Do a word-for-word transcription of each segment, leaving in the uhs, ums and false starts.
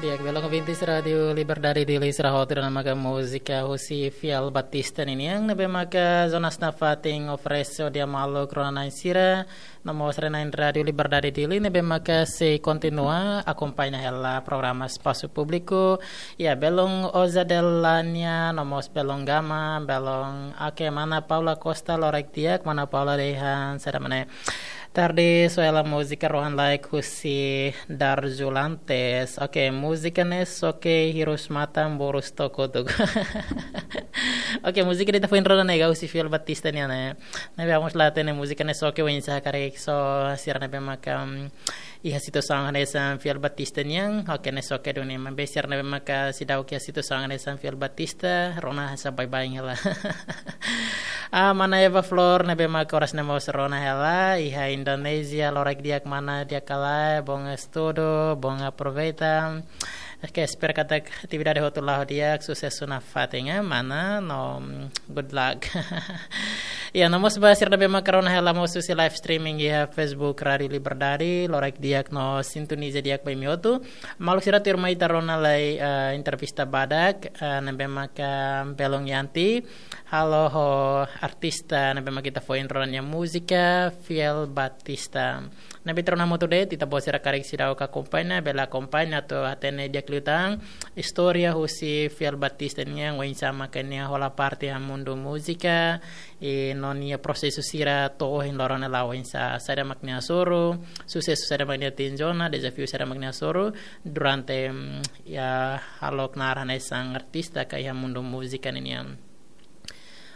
Di'ak, belun ouvintes Rádiu Liberdade Dili sira hotu, ida-ne'e maka múzika husi Fiel Batista ninian, ne'ebé maka Jonas nafatin oferese hodi maluk rona-na'in sira, no mós sira-na'in Rádiu Liberdade Dili, ne'ebé maka sei kontinua akompaña hela programa Espasu Públiku. Ya, belun Oza Delania, no mós belun Gama, belun, oke, mana Paula Costa, loraik di'ak, mana Paula dehan, saida mak ne'e. Tarde, soe hela múzika rohan-laek husi Darjulantes. Oke, múzika ne'e xoke hirus matan, borus took kotuk. Oke, múzika ida ita foin rona ne'e husi Fiel Batista nian ne'e. Ne'ebé ha'u mós la hatene múzika ne'e xoke oinsá, karik só sira ne'ebé maka, mm, iha situasaun hanesan Fiel Batista nian. Oke, ne'e xoke duni, maibé sira ne'ebé maka seidauk iha situasaun hanesan Fiel Batista, rona hanesan baibain hela. Ah, mana Eva Flor, ne'ebé maka oras ne'e mós rona hela, iha Indonézia, loraik di'ak mana, di'ak ka lae, bom estudu, bom aproveita. Oke, espera katak atividade hotu la'o di'ak, susesu nafatin, eh, mana, no, mm, good luck. Ya, no mós ba sira ne'ebé maka rona hela mós husi live streaming iha Facebook Rádiu Liberdade, loraik di'ak no sintoniza di'ak ba imi hotu. Maluk sira, tuirmai ita rona lai, eh, entrevista badak, eh, ne'ebé maka belun Yanti, halo ho artista ne'ebé maka ita foin rona nia múzika, Fiel Batista. Ne'ebé ita rona hamutuk de'it, ita-boot sira karik seidauk akompaña, bele akompaña atu hatene di'ak liután istória husi Fiel Batista nian, oinsá maka nia hola parte iha mundu múzika, i no nia prosesu sira to'o ohin loron ne'e la'o oinsá, saida mak nia hasoru, susesu saida mak nia atinje ona, dezafiu saida mak nia hasoru durante, mm, ya, halo knaar hanesan artista ka iha mundu múzika ninian.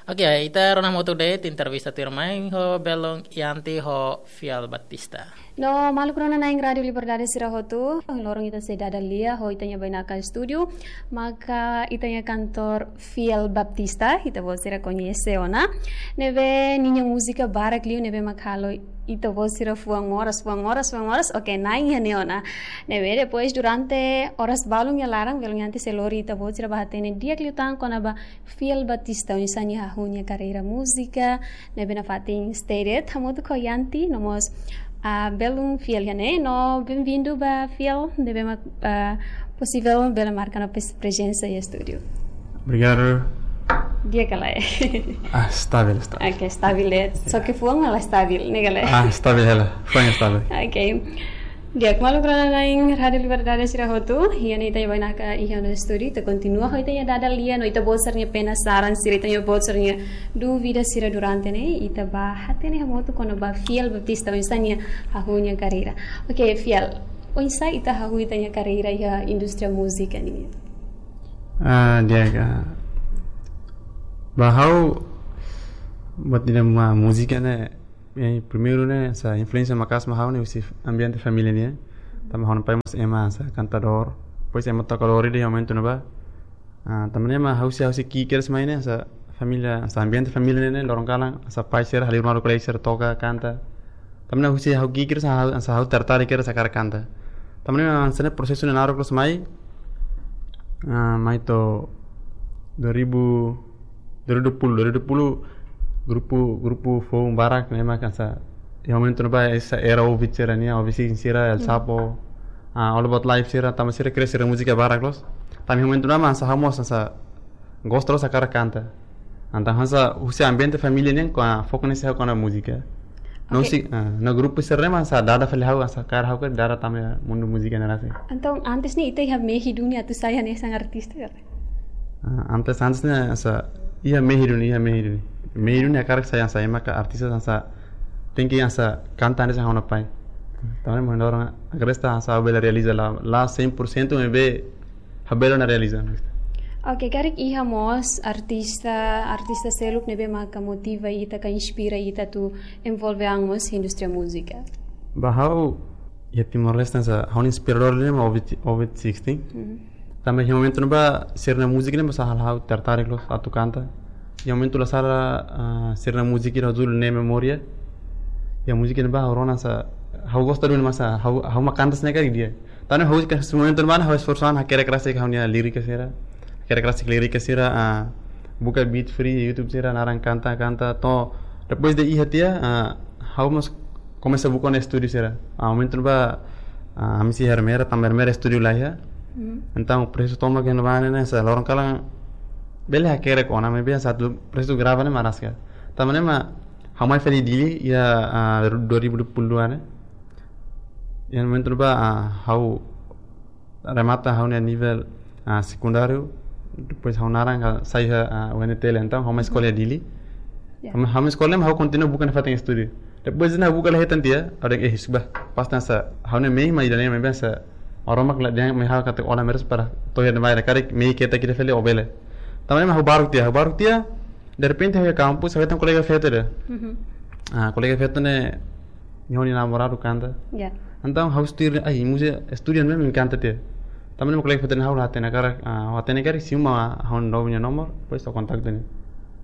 Oke, ita rona hamutuk de'it entrevista tuirmai ho belun Yanti ho Fiel Batista. No maluk rona-na'in Rádiu Liberdade sira hotu, ohin loron ita sei dada lia ho ita-nia bainaka estúdiu, maka ita-nia kantór Fiel Batista, ita-boot sira koñese ona. Ne'ebé ninia múzika barak liu, ne'ebé maka halo ita-boot sira fuan moras, fuan moras, fuan moras. Oke, na'in iha ne'e ona. Ne'ebé depois durante oras balun nia laran, belun Yanti sei lori ita-boot sira ba hatene di'ak liután kona-ba Fiel Batista, oinsá nia hahú nia karreira múzika, ne'ebé nafatin stay de'it hamutuk ho Yanti, no mós, ah, belun Fiel iha ne'e, no bem-vindo ba Fiel, ne'ebé mak, ah, posivel bele marka ona pres-, prezensa iha estúdiu. Obrigadu. Di'ak ka lae? Ah, stabil, stabil. Oke, stabil de'it. Só ke fuan mak la stabil, ne'e ka lae? Ah, stabil hela. Fuan stabil. Oke. Di'ak, maluk rona-na'in Rádiu Liberdade sira hotu, iha ne'e ita-nia bainaka iha ona estúdiu, ita kontinua ho ita-nia dada lia, no ita-boot sira-nia penasaran sira, ita-boot sira-nia dúvida sira durante ne'e, ita ba hatene hamutuk kona-ba Fiel Batista, oinsá nia hahú nia karreira. Oke, Fiel, oinsá ita hahú ita-nia karreira iha indústria múzika ne'e? Ah, di'ak, ah, ba ha'u, buat ida mak múzika ne'e, eh, primeiru ne'e, hanesan influénsia maka'as mai ha'u ne'e husi ambiente família nian. Tanba ha'u-nia pai mós ema hanesan kantadór. Depois ema tokadór ida iha momentu ne'ebá. Ah, tanba ne'e mak ha'u sei, ha'u sei ki'ik kedas mai ne'e, hanesan família, hanesan ambiente família ne'e, loron kalan, hanesan pai sira, halimar kolega sira toka, kanta. Tanba ne'e husi ha'u ki'ik kedas, hanesan ha'u, hanesan ha'u tertarik kedas hakarak kanta. Tanba ne'e mak hanesan ne'e prosesu ne'e naruk loos mai. Ah, mai to'o dua ribu, dua ribu dua puluh, dua ribu dua puluh, grupu, grupu foun barak ne'e mak hanesan, iha momentu ne'ebá hanesan era Ovid sira nian, Ovid Sixteen sira, El Hmm. Chapo, ah, All About Life sira, tanba sira kria sira múzika barak loos. Tanba iha momentu ne'ebá mak hanesan ha'u mós hanesan gosta loos hakarak kanta. Entaun hanesan husi ambiente família nian, kona-ba foku ne'e hanesan kona-ba múzika. No Oke. husi, ah, no grupu sira ne'e mak hanesan dada fali ha'u, hanesan kaer ha'u karik dada tama iha mundu múzika ne'e rasik. Entaun antes ne'e ita iha mehi duni atu sai hanesan artista ka? Ah, antes, antes ne'e hanesan iha mehi duni, iha mehi duni. Mehi duni hakarak sai hanesan ema ka artista hanesan tenke hanesan kanta hanesan ha'u-nia pai. Tanba ne'e mak ha'u agradese hanesan ha'u bele realiza la, la cem por cento maibé ha'u bele ona realiza. Oke, karik iha mós artista, artista seluk ne'ebé maka motiva ita ka inspira ita atu envolve an mós indústria múzika? Ba ha'u, iha Timor-Leste hanesan ha'u-nia inspiradór ne'e mak Ovid, Ovid Sixteen. Mhm. Tanba iha momentu ne'ebá sira-nia múzika ne'e mak hanesan halo ha'u tertarik loos atu kanta. Iha momentu la sala, ah, sira-nia múzika ida ho judul Ne'e Memória. Iha múzika ne'ebá ha'u rona hanesan, ha'u gosta duni mak hanesan, ha'u, ha'u mak kanta hanesan ne'e karik di'ak. Tanba ha'u ka momentu ne'ebá ha'u esforsu an hakerek rasik ha'u-nia lirika sira. Hakerek rasik lirika sira, ah, buka beat free, YouTube sira, naran kanta, kanta. To'o, depois de iha tiha, ah, ha'u mós komesa buka ona estúdiu sira. Ah, momentu ne'ebá, ah, ami sei iha Ermera, tanba Ermera estúdiu laiha. Entaun, prosesu tomak iha ne'ebá ne'e, hanesan loron kalan bele hakerek ona, maibé hanesan atu prosesu grava ne'e mak rasik. Tanba ne'e mak ha'u mai fali Dili iha, ah, dua ribu dua puluh dua ne'e. Iha momentu ne'ebá, ah, ha'u remata ha'u-nia nivel, ah, sekundáriu, depois ha'u naran ka sai iha, ah, U N T L, entaun ha'u mai eskola iha Dili. Ya. Ha'u mai, ha'u mai eskola, ha'u kontinua buka nafatin estúdiu. Depois ne'e ha'u buka la hetan tiha, ha'u dehan, eh, husu ba, pas hanesan ha'u-nia mehi mak ida-ne'e, maibé hanesan Maromak la dehan mai ha'u katak ó la merese para to'o iha ne'ebá, karik mehi ketak ida fali ó bele. Tanba ne'e mak ha'u baruk tiha, ha'u baruk tiha, derrepente ha'u iha kampus, ha'u hetan kolega feto ida. Ah, kolega feto ne'e, nia ho nia namoradu kanta. Ya. Entaun ha'u tuir, ai, múzika, estúdiu ne'e mak kanta tiha. Tanba ne'e mak kolega feto ne'e ha'u la hatene karik, ah, ha'u hatene karik simu mai ha'u-nia nomor, depois ha'u kontaktu nia.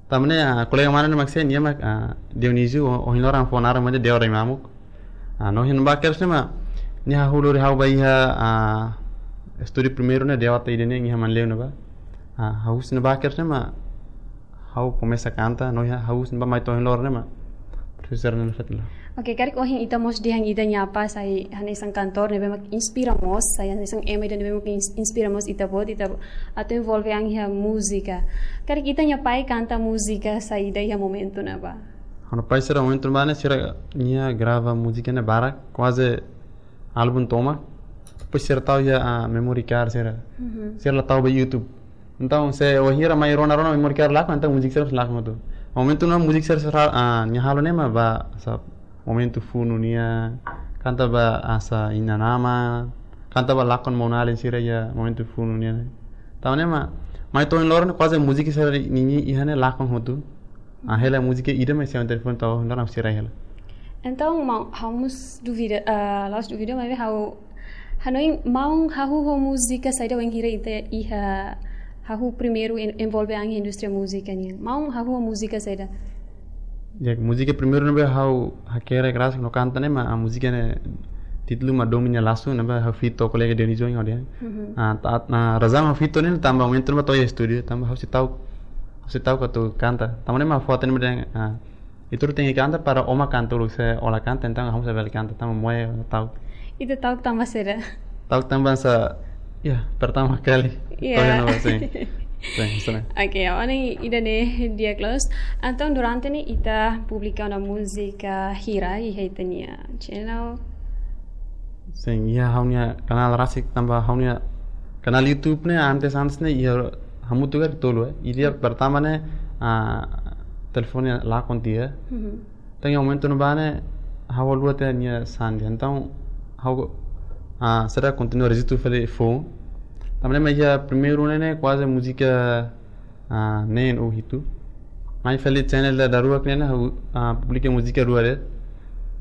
Tanba ne'e, ah, kolega mane ne'e mak sé, nia mak, ah, Dionísio, o, ohin loron fó naran mak Deo Rai Mamuk. Ah, no ohin ne'ebá kedas ne'e mak, nia hahú lori ha'u ba iha, ah, estúdiu primeiru ne'e, Deo Ata Ida ne'e, iha Manleu ne'ebá. Ah, hahú husi ne'ebá kedas ne'e mak, ha'u komesa kanta, no hahú husi ne'ebá mai to'o ohin loron ne'e mak, prosesu sira-ne'e nafatin la. Oke, karik ohin ita mós dehan ita-nia apá sai hanesan kantór ne'ebé mak inspira mós, sai hanesan ema ida ne'ebé mak ins-, inspira mós ita-boot, ita atu envolve an iha múzika. Karik ita-nia pai kanta múzika saida iha momentu ne'ebá? Ha'u-nia pai sira momentu ne'ebá ne'e sira nia grava múzika ne'e barak, kuaze álbum tomak. Depois sira tau iha, ah, memory card sira. Sira la tau ba YouTube. Entaun, se wainhira mai rona-rona memory card lakon, entaun múzika sira lakon hotu. Momentu ne'e múzika sira, sira, ah, nia halo ne'e mak ba, hanesan momentu funu nian, kanta ba hanesan inan-aman, kanta ba lakon maun-alin sira iha momentu funu nian. Tanba ne'e mak, mai to'o ohin loron kuaze múzika sira nini iha ne'e lakon hotu. Ah, hela múzika ida mak iha ha'u-nia telefone to'o ohin loron sira hela. Entaun, maun, ha'u mós duvida, ah, la'ós duvida, maibé ha'u hanoin maun hahú ho múzika saida wainhira ita iha hahú primeiru en-, envolve an iha indústria múzika nian. Maun hahú ho múzika saida? Ya, múzika primeiru ne'ebé ha'u hakerek rasik no kanta ne'e mak, ah, múzika ne'e títulu mak Domin Lasu ne'ebé ha'u feat ho kolega Dionísio ha'u dehan. Ah, ta-, ah, razaun ha'u feat ne'e tanba momentu ne'ebá to'o iha estúdiu, tanba ha'u sei tau, ha'u sei tau atu kanta. Tanba ne'e mak foto ne'e dehan, ah, ita tenke kanta para ó mak kanta uluk, se ó la kanta, entaun ha'u mós sei bele kanta, tanba moe tau. Ita tau tanba saida? Tau tanba hanesan, ya, pertama kali. Ya. Tau iha ne'ebá, sin. Sin, sin. Oke, ohin ida-ne'e di'ak loos. Entaun durante ne'e ita publika ona múzika hira iha ita-nia channel? Sin, iha ha'u-nia kanál rasik tanba ha'u-nia kanál YouTube ne'e antes, antes ne'e iha hamutuk karik tolu, eh. Ida pertama ne'e, ah, telefone lakon tiha. Entaun iha momentu ne'ebá ne'e ha'u haluha tiha nia sandi. Entaun ha'u, ah, sira kontinua rejista fali foun. Tanba ne'e mak iha primeiru ne'e, ne'e kuaze múzika, ah, neen ou hitu. Mai fali channel ida daruak ne'e, ne'e ha'u, ah, publika múzika rua de'it.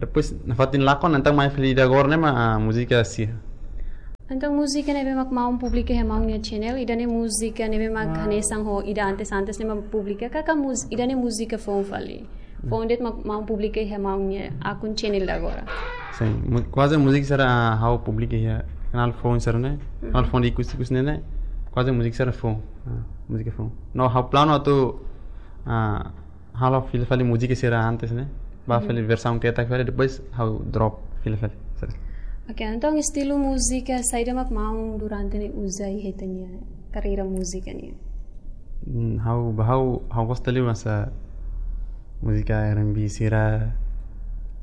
Depois nafatin lakon, entaun mai fali ida agora ne'e mak, ah, múzika sia. Entaun múzika ne'ebé mak maun publika iha maun nia channel, ida-ne'e múzika ne'ebé mak hanesan ho ida antes, antes ne'e mak publika, ka ka múz-, ida-ne'e múzika foun fali? Foun de'it mak maun publika iha maun nia akun channel ida agora? Sin, mu-, kuaze múzika sira ha'u publika iha kanál foun sira-ne'e, kanál foun ida ikus-ikus ne'e, ne'e kuaze múzika sira foun. Ah, múzika foun. No ha'u planu atu, ah, halo fila fali múzika sira antes ne'e. Ba fali versaun ketak fali, depois ha'u drop fila fali. Sira. Oke, entaun estilu múzika saida mak maun durante ne'e uza iha ita-nia karreira múzika nian? Hmm, ha'u, ba ha'u, ha'u gosta liu hanesan múzika R and B sira.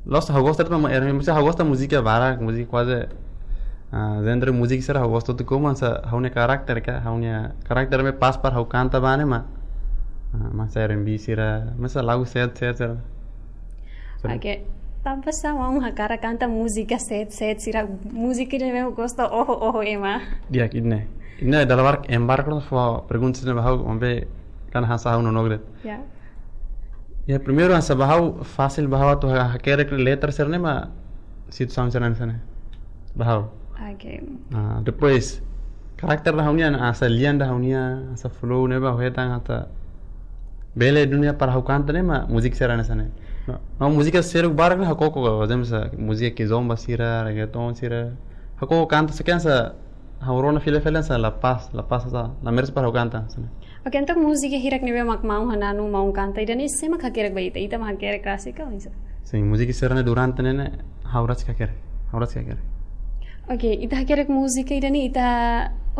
La'ós ha'u gosta de'it mak R and B, maibé ha'u gosta múzika barak, múzika kuaze, ah, genre múzika sira ha'u gosta hotu, komu hanesan ha'u-nia karakter ka, ha'u-nia karakter ne'ebé pas para ha'u kanta ba ne'e mak, ah, mak hanesan R and B sira, mak hanesan lagu sad, sad sira. Sira. Oke, tanba sá maun hakarak kanta múzika sad, sad sira, múzika ne'ebé gosta oho, oho ema? Di'ak, ida-ne'e. Ida-ne'e dala barak ema barak fó pergunta sira ba ha'u, maibé kan hanesan ha'u nonook de'it. Ya. Ya, primeiru hanesan ba ha'u fasil ba ha'u atu ha-, hakerek letra sira-ne'e mak situasaun sira hanesan ne'e. Ba ha'u. Oke. Ah, depois, karakter ida ha'u-nian, hanesan lian ida ha'u-nian, hanesan flow ne'ebé ha'u hetan atu bele duni para ha'u kanta ne'e mak múzika sira hanesan ne'e. No, no múzika sira barak ne'e ha'u koko, por ezemplu, hanesan múzika kizomba sira, reggaeton sira. Ha'u koko kanta sá, hanesan ha'u rona fila fali hanesan la pas, la pas hanesan, la merese para ha'u kanta hanesan ne'e. Oke, entaun múzika hirak ne'ebé mak maun hananu, maun kanta ida-ne'e sé mak hakerek ba ita? Ita mak hakerek rasik ka oinsá? Sin, múzika sira-ne'e durante ne'e, ne'e ha'u rasik hakerek. Ha'u rasik hakerek. Oke, ita hakerek múzika ida-ne'e, ita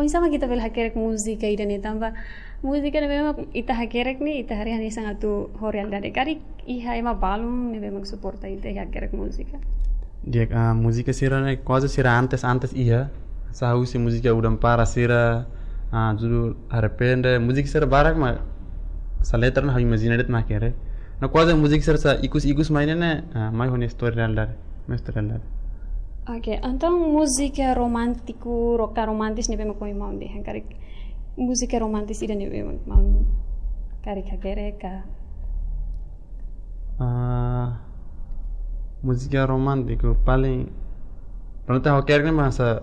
Oinsá mak ita bele hakerek múzika ida-ne'e tanba múzika ne'ebé mak ita hakerek ne'e, ita haree hanesan atu ho realidade. Karik iha ema balun ne'ebé mak suporta ita iha hakerek múzika. Di'ak, ah, múzika sira-ne'e kuaze sira antes, antes iha. Hanesan husi múzika Udan Para sira, ah, judul Arrepende. Múzika sira barak mak hanesan letra ne'e ha'u imajina de'it mak hakerek. No kuaze múzika sira hanesan ikus-ikus mai ne'e, ah, mai ho nia istória realidade. Mai istória realidade. Oke, entaun múzika romántiku, roka romantis ne'ebé mak ohin maun dehan karik. Múzika romantis ida ne'ebé mak maun karik hakerek ka? Ah, múzika romántiku paling, pronto, ha'u hakerek ne'e mak hanesan,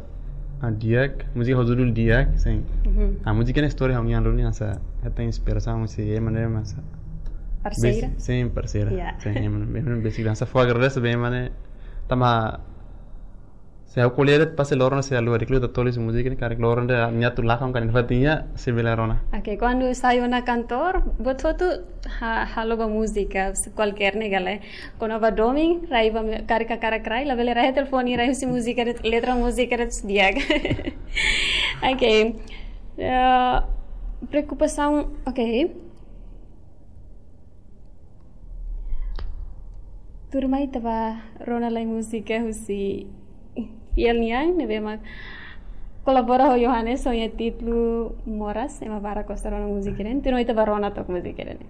ah, Di'ak, múzika ho judul Di'ak, sin. Mhm. Ah, múzika ne'e istória ha'u-nian duni hanesan, hetan inspirasaun husi ema ne'ebé mak hanesan. Parseira? Bes-, sin, parseira. Ya. Sin, ema ne'ebé, ema ne'ebé besik hanesan fó agradese ba ema ne'e, tanba se ha'u ko'alia de'it pasti loron ne'e se ha'u hakerek liután toli husi múzika ne'e, karik loron ida nia atu lakon karik fatin iha, se bele rona. Oke, kuandu sai ona kantor, buat hotu ha-, halo ba múzika, se kualkér ne'e gale. Kuandu ba domin, rai ba me-, karik hakarak rai, labele rai telefone, rai husi múzika de'it, letra múzika de'it Di'ak. Oke. Eh, preokupasaun, oke. Tuirmai ita bá rona lai múzika husi fiel nian, ne'ebé mak kolabora ho Johannes ho nia títulu Moras, ema barak gosta rona múzika ida-ne'e. Tuirmai ita bá rona took múzika ida-ne'e.